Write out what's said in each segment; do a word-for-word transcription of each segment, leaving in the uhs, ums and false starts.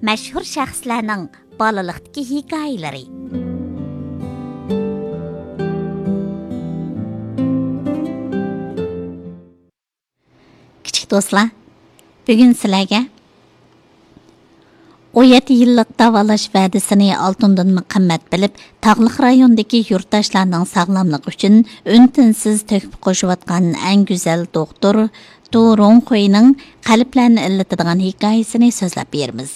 مەشھۇر شەخسلەرنىڭ بالىلىقتىكى ھېكايىلىرى. كىچىك دوستلار، بۈگۈن سىلەرگە ئون يەتتە يىللىق داۋالاش ۋەدىسىنى ئالتۇندىنمۇ قىممەت بىلىپ، تاغلىق رايوندىكى يۇرتداشلارنىڭ ساغلاملىقى ئۈچۈن ئۈن-تىنسىز تۆھپە قوشۇۋاتقان ئەڭ گۈزەل دوختۇر، دۇ رۇڭخۇينىڭ قەلبلەرنى ئىللىتىدىغان ھېكايىسىنى سۆزلەپ بېرىمىز.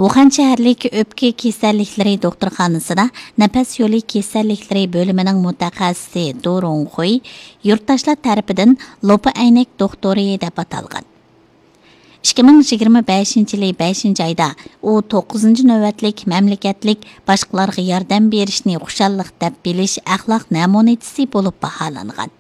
ۋۇخەن شەھەرلىك ئۆپكە كېسەللىكلىرى دوختۇرخانىسىدا نەپەس يولى كېسەللىكلىرى بۆلۈمىنىڭ مۇتەخەسسىسى دۇ رۇڭخۇي يۇرتداشلار تەرىپىدىن لوپا ئەينەك دوختۇرى دەپ ئاتالغان. ئىككى مىڭ يىگىرمە بەشىنچى يىلى بەشىنچى ئايدا ئۇ توققۇزىنچى نۆۋەتلىك مەملىكەتلىك باشقىلارغا ياردەم بېرىشنى خۇشاللىق دەپ بىلىش ئەخلاق نەمۇنىچىسى بولۇپ باھالانغان.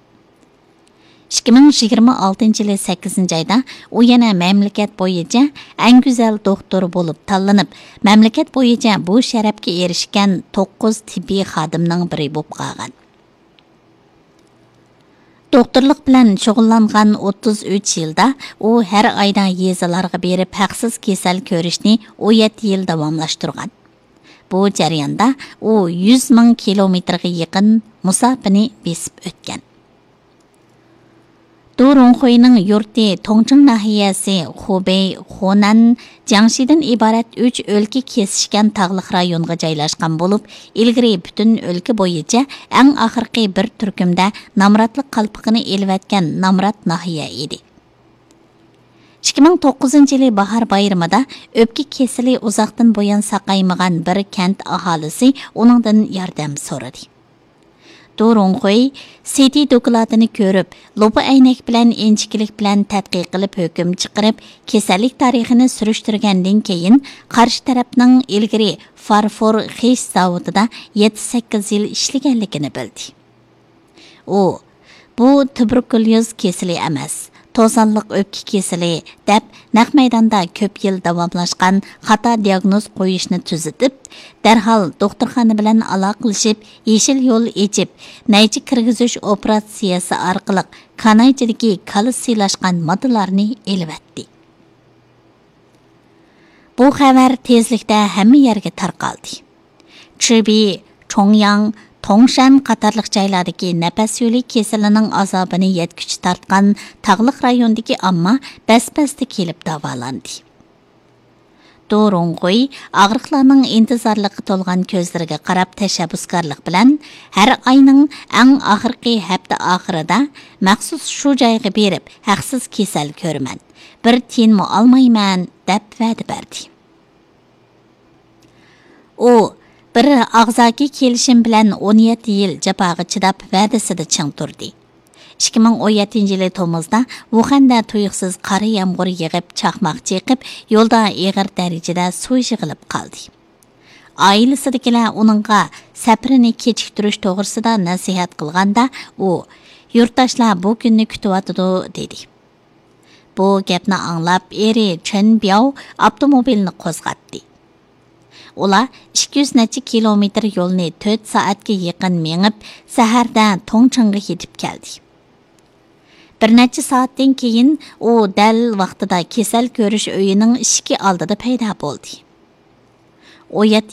ئىككى مىڭ يىگىرمە ئالتىنچى يىلى سەككىزىنچى ئايدا ئۇ يەنە مەملىكەت بويىچە ئەڭ گۈزەل دوختۇر بولۇپ تاللىنىپ، مەملىكەت بويىچە بۇ شەرەپكە ئېرىشكەن توققۇز تېببىي خادىمنىڭ بىرى بولۇپ قالغان. دوختۇرلۇق بىلەن شۇغۇللانغان ئوتتۇز ئۈچ يىلدا ئۇ ھەر ئايدا يېزىلارغا بېرىپ ھەقسىز كېسەل كۆرۈشنى ئون يەتتە يىل داۋاملاشتۇرغان. بۇ جەرياندا ئۇ يۈز مىڭ كىلومېتىرغا يېقىن مۇساپىنى بېسىپ ئۆتكەن. دۇ رۇڭخۇينىڭ يۇرتى توڭچىڭ ناھىيەسى خۇبېي خۇنەن جياڭشىدىن ئىبارەت ئۈچ ئۆلكە كېسىشكەن تاغلىق رايونغا جايلاشقان بولۇپ، ئىلگىرى پۈتۈن ئۆلكە بويىچە ئەڭ ئاخىرقى بىر تۈركۈمدە نامراتلىق قالپىقىنى ئېلىۋەتكەن نامرات ناھىيە ئىدى. ئىككى مىڭ توققۇزىنچى يىلى باھار بايرىمىدا ئۆپكە كېسىلى ئۇزاقتىن بۇيان ساقايمىغان بىر كەنت ئاھالىسى ئۇنىڭدىن ياردەم سورىدى. دۇ رۇڭخۇي سىتى دوكلاتىنى كۆرۈپ، لوپا ئەينەك بىلەن ئىنچىكىلىك بىلەن تەتقىق قىلىپ ھۆكۈم چىقىرىپ، كېسەللىك تارىخىنى سۈرۈشتۈرگەندىن كېيىن، قارشى تەرەپنىڭ ئىلگىرى فارفور خىش زاۋۇتىدا يەتتە سەككىز يىل ئىشلىگەنلىكىنى بىلدى. ئۇ، «بۇ تۇبېركۇليوز كېسىلى ئەمەس، توزانلىق ئۆپكە كېسىلى» دەپ، نەق مەيداندا كۆپ يىل داۋاملاشقان خاتا دىياگنوز قويۇشنى تۈزىتىپ، دەرھال دوختۇرخانا بىلەن ئالاقىلىشىپ، يېشىل يول ئېچىپ، نەيچە كىرگۈزۈش ئوپېراتسىيەسى ئارقىلىق كانايچىدىكى كالا سىيلاشقان ماددىلارنى ئېلىۋەتتى. بۇ خەۋەر تېزلىكتە ھەممە يەرگە تارقالدى. چىبى، چوڭياڭ، توڭشەن قاتارلىق جايلاردىكى نەپەس يولى كېسىلىنىڭ ئازابىنى يەتكۈچە تارتقان تاغلىق رايوندىكى ئامما بەس-بەستە كېلىپ داۋالاندى. دۇ رۇڭخۇي ئاغرىقلارنىڭ ئىنتىزارلىققا تولغان كۆزلىرىگە قاراپ تەشەببۇسكارلىق بىلەن، «ھەر ئاينىڭ ئەڭ ئاخىرقى ھەپتە ئاخىرىدا مەخسۇس شۇ جايغا بېرىپ، ھەقسىز كېسەل كۆرىمەن، بىر تىيىنمۇ ئالمايمەن» دەپ ۋەدە بەردى. ئۇ، «بىر ئاغزاكى كېلىشىم بىلەن ئون يەتتە يىل جاپاغا چىداپ، ۋەدىسىدە چىڭ تۇردى. ئىككى مىڭ ئون يەتتىنچى يىلى تومۇزدا ۋۇخەندە تۇيۇقسىز قارا يامغۇر يېغىپ، چاقماق چېقىپ، يولدا ئېغىر دەرىجىدە سۇ يىغىلىپ قالدى. ئائىلىسىدىكىلەر ئۇنىڭغا سەپىرىنى كېچىكتۈرۈش توغرىسىدا نەسىھەت قىلغاندا، ئۇ، 'يۇرتداشلار بۇ كۈننى كۈتۈۋاتىدۇ' دېدى.» بۇ گەپنى ئاڭلاپ، ئېرى چېن بياۋ ئاپتوموبىلنى قوزغاتتى. ئۇلار ئىككى يۈز نەچچە كىلومېتىر يولنى تۆت سائەتكە يېقىن مېڭىپ، سەھەردە توڭچىڭغا يېتىپ كەلدى. بىر نەچچە سائەتتىن كېيىن ئۇ دەل ۋاقتىدا كېسەل كۆرۈش ئۆيىنىڭ ئىشىكى ئالدىدا پەيدا بولدى. ئون يەتتە